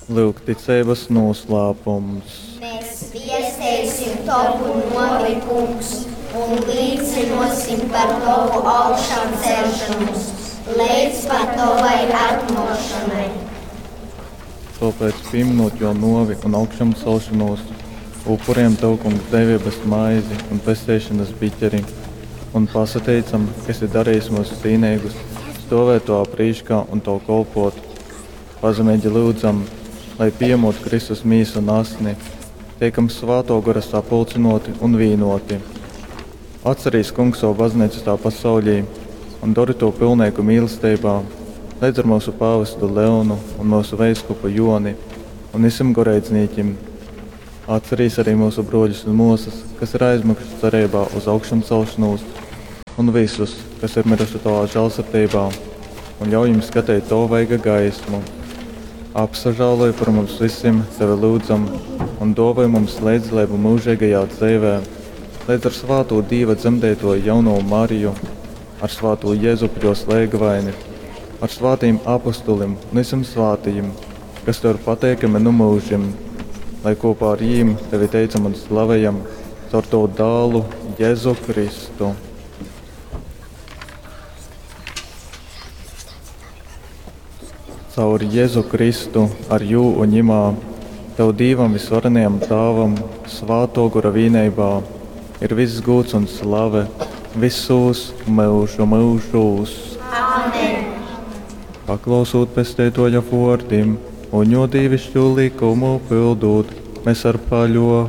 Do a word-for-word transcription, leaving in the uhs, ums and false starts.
Lūk, ticeibas noslēpums. Mēs viesteisim tavu novi, kungs, un līcinosim par tavu augšām celšanos, līdz pat tavai atnākšanai. Tāpēc, pieminot jo novi un augšām celšanos, upuriem tev, kungs, devības maizi un pestīšanas biķeri, un pasateicam, ka esi darījis mūs cīnīgus, stovēt tavā prīškā un tev kalpot. Pazemīgi lūdzam, lai pieņemot Kristus mīsu un asni, tiekam svēto gara sapulcinoti un vīnoti. Atcerīs, kungs, savu baznīcu tā pasaulī un dari to pilnīgu mīlestībā, līdz ar mūsu pāvestu Leonu un mūsu veiskupu Joni un visiem goreidznīķim. Atcerīs arī mūsu broļus un mūsas, kas ir aizmiguši cerībā uz augšām celšanos, un visus, kas ir miruši tavā žēlsirdībā, un ļauj viņiem skatīt tavu vaiga gaismu. Apsažāloj par mums visiem, tevi lūdzam, un dāvāj mums līdzdalību mūžīgajā dzīvē, līdz ar svāto Dieva dzemdēto jauno Mariju, ar svāto Jēzupu jo slēgvaini, ar svātiem apustulim un visiem svātajiem, kas tev ir pateikami nu mūžim, lai kopā ar jīm tevi teicam un slavējam caur tavu dālu Jēzu Kristu. Caur Jēzu Kristu, ar jū un ņimā, tev Dīvam visvarenajam Tāvam, svāto gora vīneibā, ir viss gūts un slave visos mūžu mūžos. Amen. Paklausot pesteitoja vārdim un jo dīvišķo likumu pildot, mēs ar paļo